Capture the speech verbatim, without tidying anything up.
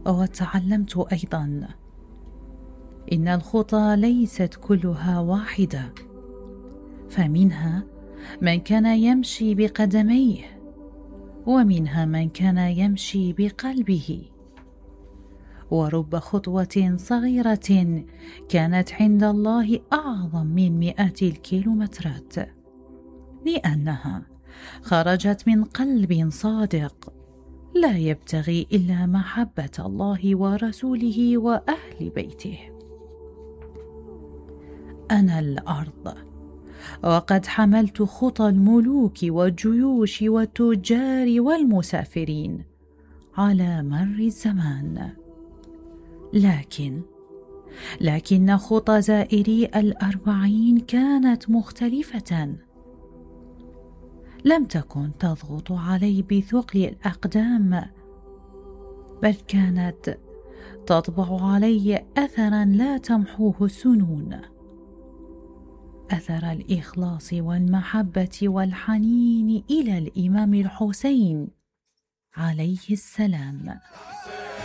وتعلمت أيضا إن الخطى ليست كلها واحدة، فمنها من كان يمشي بقدميه، ومنها من كان يمشي بقلبه. ورب خطوة صغيرة كانت عند الله أعظم من مئات الكيلومترات، لأنها خرجت من قلب صادق لا يبتغي إلا محبة الله ورسوله وأهل بيته. أنا الأرض، وقد حملت خطى الملوك والجيوش والتجار والمسافرين على مر الزمان، لكن لكن خطى زائري الأربعين كانت مختلفة. لم تكن تضغط علي بثقل الأقدام، بل كانت تطبع علي أثرا لا تمحوه السنون، أثر الإخلاص والمحبة والحنين إلى الإمام الحسين عليه السلام.